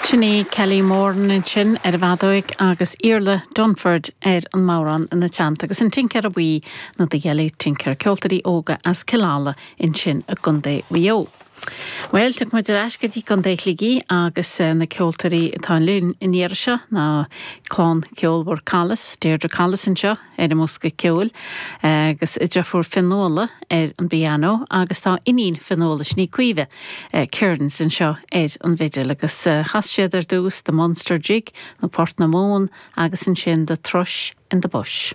Sin í Kelly Moran ansin ar an bhfeadóig agus Iarla Dunford ar an mbodhrán ina teannta agus an Tincéara Buí nó The Yellow Tinker, ceoltóirí óga as Cill Ala ansin i gContae Mhaigh Eo. Bhuel, tiocfaidh muid ar ais go dtí Contae Shligigh agus na ceoltóirí atá linn an iarraidh seo ná clann cheolmhar Collis, Deirdre Collis anseo ar an mbosca ceoil agus a deirfiúr Fionnuala ar an bpianó agus tá iníon Fionnuala, sin í Caoimhe Kearns anseo ar an bhfidil agus chas siad ar dtús The Munster Jig nó Port na Móna agus ansin The Thrush in the Bush.